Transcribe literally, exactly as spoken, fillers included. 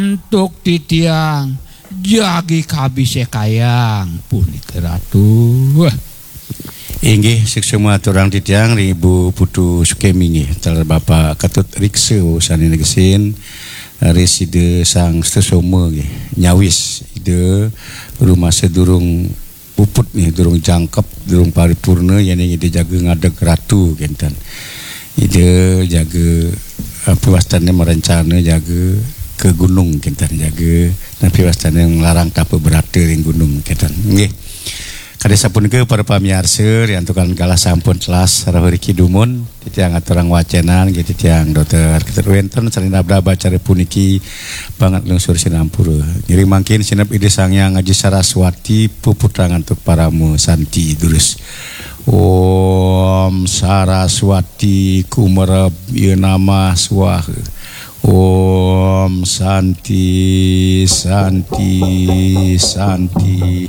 Antuk titiang jagi kabisekayang punika Ratu. Inggih, suksma aturang titiang ring Ibu Putu Sukemi nggih, taler Bapak Ketut Riksa sané negesin, ris Ida Sang Sutasoma nggih, nyawis Ida rumasa durung puput nggih, durung jangkep, durung paripurna, yéning Ida jaga ngadeg Ratu kénten. Ida jaga, apa wastané, merencana jaga ke gunung kénten, jaga napi wastané nglarang tapa brata ring gunung kénten. Nggih. Kadi sapunika para pamiarsa, riantukan galah sampun telas rauh riki dumun, titiang aturang wacénan nggih titiang Dokter Ketut, wénten sané nabdab acara puniki banget lungsur sinampura. Ngiring mangkin sineb Ida Sang Hyang Aji Saraswati puputang antuk parama santi durus. Om Saraswati kumereb ya namah swaha. Om Santi, Santi, Santi.